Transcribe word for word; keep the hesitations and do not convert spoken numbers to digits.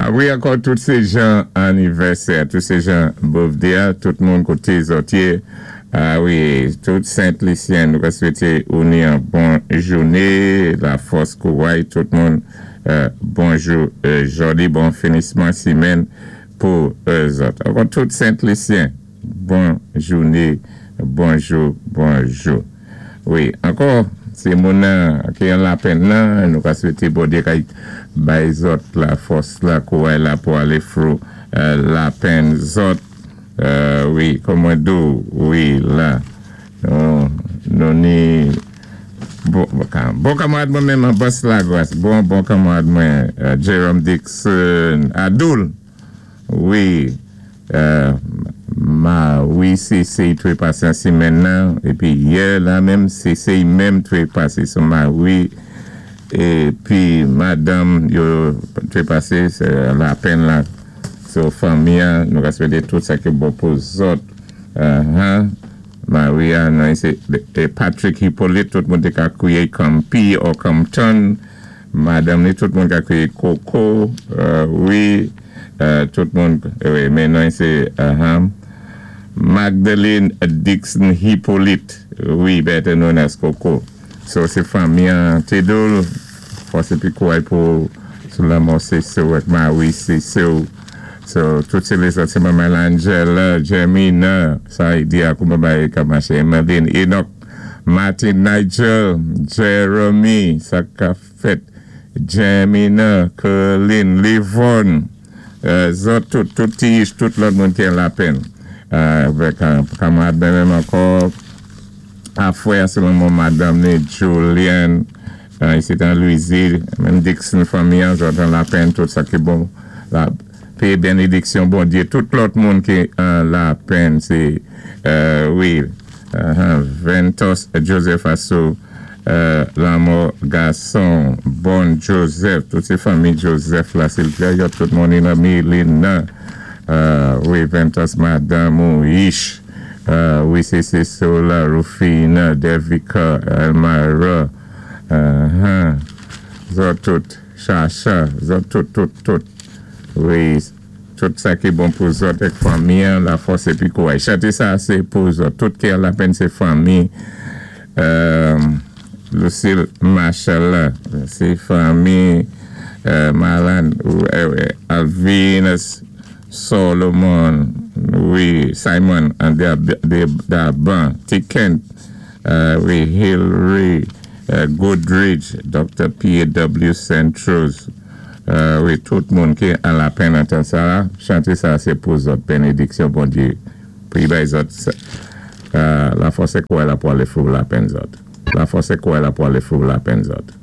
Wi, ankò tout sé jan anivèsè, tout sé jan birthday, tout moun koté zòt yé. Ah wi, tout Sent Lisyen, nou ka swété ou ni an bon jouné, lafòs kouway, tout moun, bonjou, jòdi, bon finisman simenn pou zòt. Ankò tout Sent Lisyen, bon jouné, bonjou, bonjou. Wi, ankò, sé moun ki an lapenn nan, nou ka swété Bondyé kay bay zòt lafòs la kouway la pou alé fwou lapenn zòt. Wi, kòm mwen di ou, wi, la, nou ni, bon kanmarad mwen menm an Bas Lagwas, bon, bon kanmarad mwen, Jerome Dixon, Adoul, wi, ma, wi, sé sé twé pasé an simenn nan, épi yè la menm, sé sé menm twé pasé, so ma, wi, épi madanm yo twé pasé, sé lapenn la, so fanmi an, nou ka swété tout sa ki bon pou zòt. Maria, nan sé Patrick Hippolyte, tout moun té ka kwiyé Kampi ou Compton. Madanm ni tout moun ka kwiyé Coco, wi, tout moun, wi, men nan sé Magdalene Dixon Hippolyte, wi, better known as Coco. So sé fanmi an, Tedol, fòs épi kouway pou sou lanmò sé sou, ak Marie sé sou. So, tout sé lézòt, sé Manman Angela, Jemina, sa y di ak ou babay kamache, Emeline, Enoch, Martin Nigel, Jeremy, sa ka fèt, Jemina, Colin, Livon, zòt tout, tout ti tout lòt moun ki an lapenn. Avèk kanmarad mwen menm ankò, afwè sou lanmò madanm ni Julian, isi an Louisville, menm Dixon fanmi an, zòt an lapenn, tout sa ki bon, la pé bénédiksyon Bondyé, tout lòt moun ki an lapenn, sé, wi, Ventos Joseph Assou, lanmò gason, Bon Joseph, tout sé fanmi Joseph la, silvouplè, yo tout moun nan Milina, wi, Ventos madanm ou Ish, wi, sé sé Sola, Rufina, Devika, Elmira, zòt tout, Chacha, zòt tout, tout, tout, wi, tout sa ki bon pou zòt èk fanmi, lafòs épi kouway. Chanté sa, sé pou zòt, tout ki an lapenn sé fanmi, Lucille Machala, sé fanmi, Malan, Alvinus, Solomon, wi, Simon, and Daban, T. Kent, wi, Hillary, Goodridge, Doctor P A W. Centros, wi, tout moun ki an lapenn an tan sa, chanté sa sé pou zòt, bénédiksyon Bondyé, pou y bay zòt, lafòs é kouway la pou alé fwou lapenn zòt. Lafòs é kouway la pou alé fwou lapenn zòt.